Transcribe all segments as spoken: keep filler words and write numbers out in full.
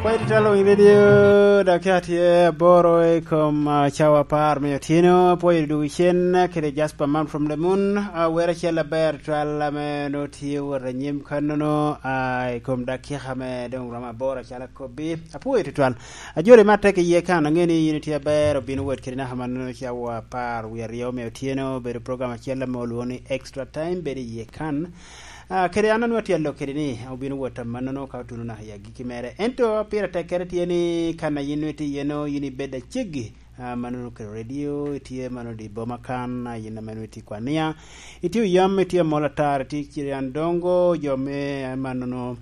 Pwod itye Lweny Radio, dakika tye aboro i kom, ah, cawa apar me otyeno. Apwoyo dwogo cen kede Jasper Man from the Moon. Ah, wer acel aber twal ame nongo tye wot anyim kannono, ah, i kom dakika ame doŋ romo aboro acalo akobbi. Apwoyo tutwal. Ajoli me atek iye kan, aŋeo ni yin itye aber, obino wot kede naka mannono cawa apar wie aryo me otyeno. Obedo program acel ame olwoŋo ni Extra Time, bedo iye kan. Ah, kede an anwoo tye alok kede ni, obino wot amannono ka otuno naka i agikki mere. Ento pire tekkere tye ni kan a yin nongo itye iye-nu, yin ibed aceggi. Ah, mannono kede radio, itye mannono i boma kan, ah, yin ame nongo itye i Kwania. Itye oyam, itye amol atar, itye i Cirian Dongo, jo me, ah, mannono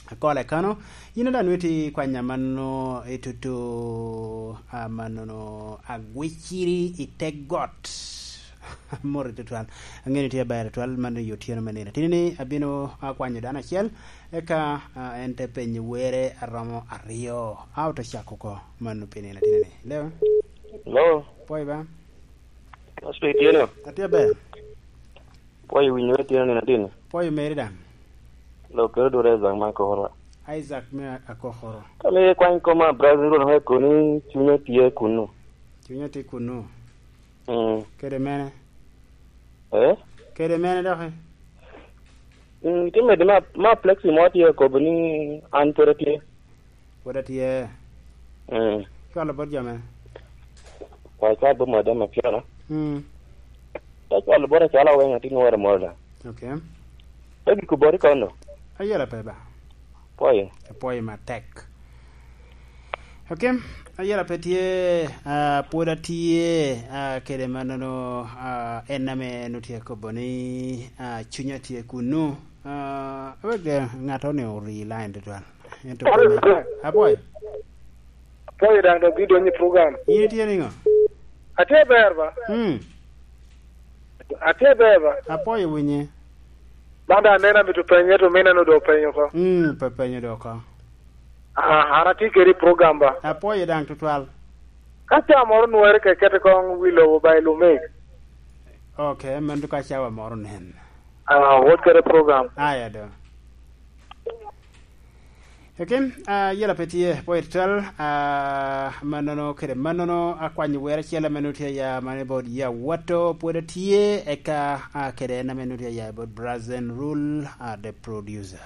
Akola i Kano. Yin daŋ nongo itye i Kwanya mannono, itutu, ah, mannono Agwiciri i te got. Amoti tutwal. Aŋeo ni tye aber tutwal, man i otyeno me nino. Tini ni abino akwanyo dano acel, eka, ah, en te penyo were aromo aryo. A ote cako oko, man pi nino tini ni. Hello? Hello? Pwoyo ba? Pastor Itieno? Atye aber. Pwoyo winyo Itieno nino tini? Pwoyo meri daŋ. Lo kero dwore Isaac me Akokoro. Isaac me Akokoro. Kane kwany koma, brother, Ruoth me koni, cunya tye kuno. Cunya tye kuno. Mm. Kede mene? Eh? Kede mene dok, eh? Mm, tye mede ma, ma Plexi mo tye akobo ni an pwod atye. Pwod atye. Mm. Cwalo bot jo mene? Wa cwalo bot madam Apiana. Mm. Te cwalo bot acwala weng, atin woro moro da. Okay. Te giko bot i kono. Ayela pe ba. Pwoyo. Apwoyo matek. Okay, ayela pe tye, ah, pwod atye, ah, kede mannono, ah, en ame en otye akobo ni, ah, cunya tye kunu. Ah, wek, eh, ŋato ni ori line tutwal. Ento kome, apwoyo. Apwoyo daŋ dok idonyo i program. In itye niŋo? Atye ber ba? Mm. Atye ber ba? Apwoyo winye. Man daŋ aneno amito penye, to mine no dok penyo oko. Mm, pe penyo dok oko. Ah, an atye kede i program ba? Apwoyo daŋ tutwal. Ka ca moro nwere ke kete koŋ wi lobo ba i Lumik. Okay, mano ka cawa moro nen. Ah, wot kede program. Aya do. Ekin, ah, yela pe tye, pwoyo tutwal, ah, mannono kede mannono, akwanyo wer acel ame nongo tye aya, mane bot ya wato, pwod atye, eka, ah, kede en ame nongo tye aya bot Brazen Rule, ah, the producer.